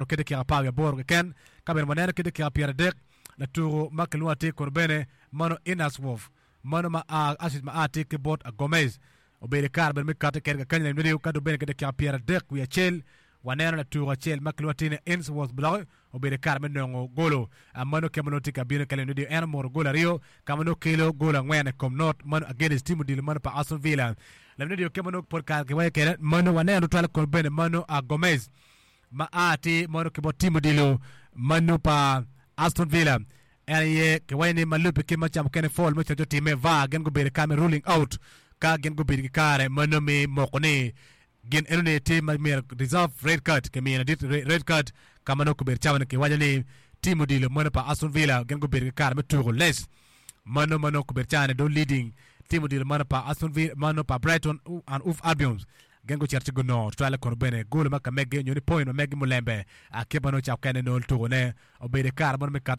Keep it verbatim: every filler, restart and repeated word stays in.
Ki dakika apar wiye aboro keken ka bene waneno ki dakika pyeradek latuko ma kilwongo atir kono bene mano Inasworth mano ma a assist ma a tye ki bot Gomez obedo i kare bene me kati kede kakany lamidi ka dong bene ki dakika pyeradek wiye acel waneno latuko acel ma kilwongo atir ni Ainsworth Block obedo i kare me nongo golo mano kema nongo tye ka bino ka lamidi en omoto gol aryo ka ma nongo kelo gol angwen i kom not mano against team odilo mano pa Aston Villa lamidi kema nongo pol kare kiwaco kede mano waneno tutwal kono bene mano Gomez ma a tye mano ki bot team odilo mano pa Aston Villa en aye kiwaco ni ma lubbe ki ma ca mukene foul me coco time VAR gin gubedo ka me ruling out ka gin gubedo ki kare mano me moko ni gin eno ni tye ma myero deserve red card kimiyo ladit red card ka ma nongo kobedo cawa ni kiwaco ni team odilo mano pa Aston Villa gin gubedo ki kare me tuko less mano ma nongo kobedo cawa ni dong leading team odilo mano pa Aston Villa mano pa Brighton and Hove Albion gin gucito ci gunongo tutwalle kono bene golo ma ka megi nyo ni point ma megi mulembe kit ma nongo ca mukene nongo tukone obedo i kare mano me kati.